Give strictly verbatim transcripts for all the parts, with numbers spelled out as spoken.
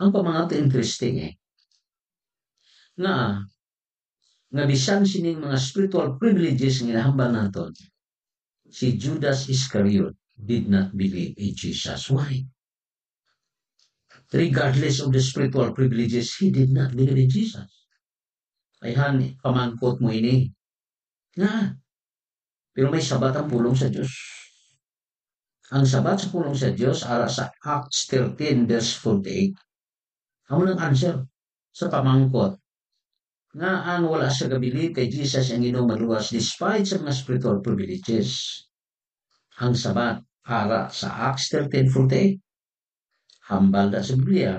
Ang pamangkot interesting, eh. Nga, nga bisan sining mga spiritual privileges nga ginahambal naton, si Judas Iscariot did not believe in Jesus. Why? Regardless of the spiritual privileges, he did not believe in Jesus. Ayhan, pamangkot mo ini. Nga, pero may Sabat ang pulong sa Dios. Ang Sabat sa pulong sa Dios, ara sa Acts thirteen verse forty-eight, amo nang answer sa pamangkot nga ang wala siya gabilib kay Jesus ang Ginoo maluwas despite sa mga spiritual privileges. Ang Sabat, ara sa Acts thirteen forty-eight, hambal na sa Biblia,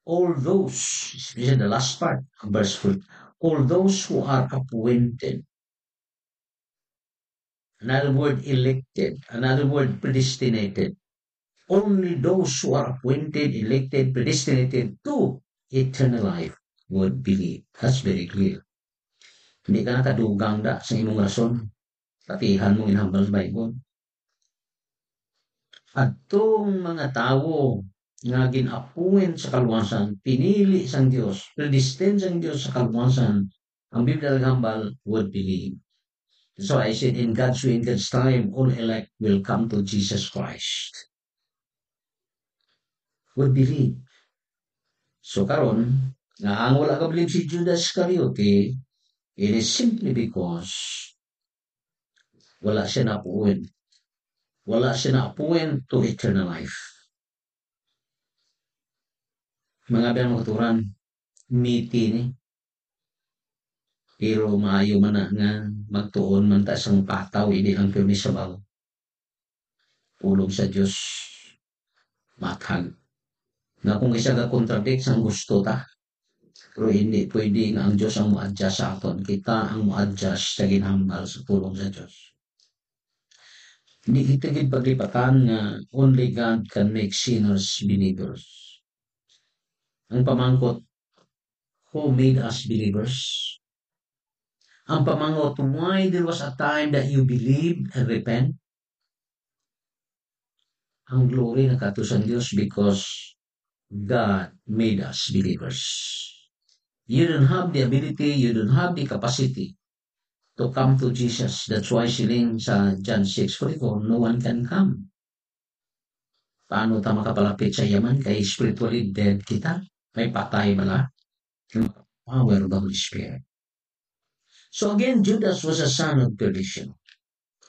all those, especially the last part of verse four, all those who are appointed, another word, elected, another word, predestinated, only those who are appointed, elected, predestinated to eternal life would believe. That's very clear. Hindi ka nakadugang da sa imong rason. Patihan mo ginhambal sa Bible. Adtong mga tawo nga gin-appoint sa kaluwasan, pinili sang Dios, predestined sang Dios sa kaluwasan, ang Biblia naghambal, would believe. So I said, in God's way, in God's time, all elect will come to Jesus Christ. Would believe. So karon, nga ang wala ka believe si Judas Iscariote, it is simply because wala siya na-appoint. Wala siya na-appoint to eternal life. Mga biyang mga katuran, miti ni. Pero maayo man na nga magtuon man ta sang pataw, hindi lang pirmi sa baw. Pulong sa Dios, mathag. Nga kung isa ga contradict sang gusto ta, pero hindi pwede nga ang Dios ang mo-adjust sa aton. Kita ang mo-adjust sa ginhambal sa pulong sa Dios. Hindi kita gid paglipatan nga only God can make sinners believers. Ang pamangkot, who made us believers? Ang pamangkot, why there was a time that you believe and repent? Ang glory nagkadto sa Dios because God made us believers. You don't have the ability, you don't have the capacity to come to Jesus. That's why siling sa John six forty-four, no one can come. Paano ta makapalapit sa iya man? Kay spiritually dead kita. May patay bala. Power of the Holy Spirit. So again, Judas was a son of perdition.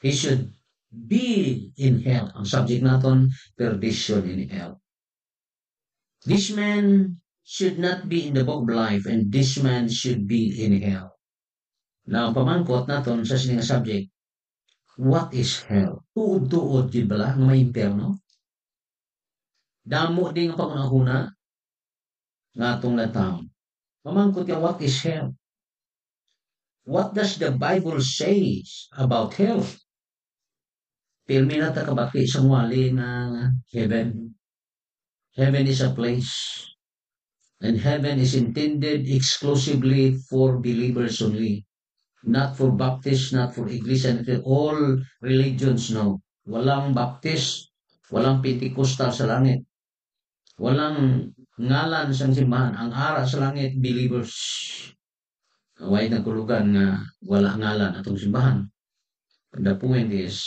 He should be in hell. Ang subject naton, perdition in hell. This man should not be in the book of life, and this man should be in hell. Now, ang pamangkot naton sa sini nga subject, what is hell? Tuod-tuod gid bala nga may impyerno? Damo di nga panghunahuna nga atong lantawon. Mamangkot ka, what is hell? What does the Bible says about hell? Pirmi na ta kabati sa wali nga heaven. Heaven is a place. And heaven is intended exclusively for believers only. Not for Baptist, not for Iglesia, not for all religions, no. Walang Baptist, walang Pentecostal sa langit. Walang ngalan sang simbahan. Ang ara sa langit, believers. Way nagkulugan nga wala ngalan atong simbahan. The point is,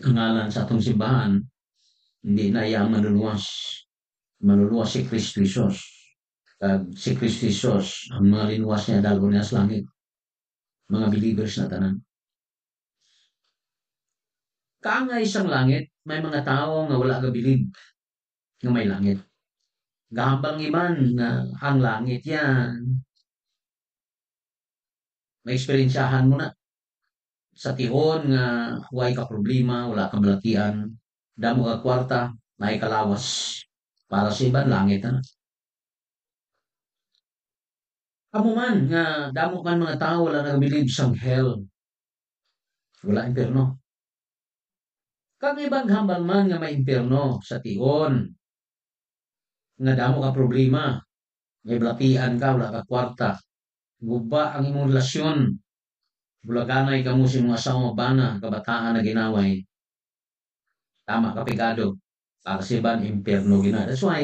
ang ngalan sa atong simbahan, hindi na iya ang manluluwas. Manluluwas si Kristo Jesus. Kag si Kristo Jesus, ang mga linuwas niya, dalhon niya sa langit. Mga believers na tanan. Kaangay sang langit, may mga tawo nga wala gabilib nga may langit. Gahambal ang iban nga ang langit yan. Maeksperiensyahan mo na. Sa tion nga way ka problema, wala ka balatian, damo ka kwarta, may kalawas. Para sa iban, langit na. Amo man nga damo man mga tawo wala nagabilib sang hell. Wala impyerno. Kag iban hambal man nga may impyerno sa tion nga damo ka problema. May balatian ka, wala ka kwarta. Guba ang imong relasyon. Bulaganay kamo sa imong asawa, bana, kabataan na ginaway. Tama ka, pigado. Para sa iban, impyerno gina. That's why,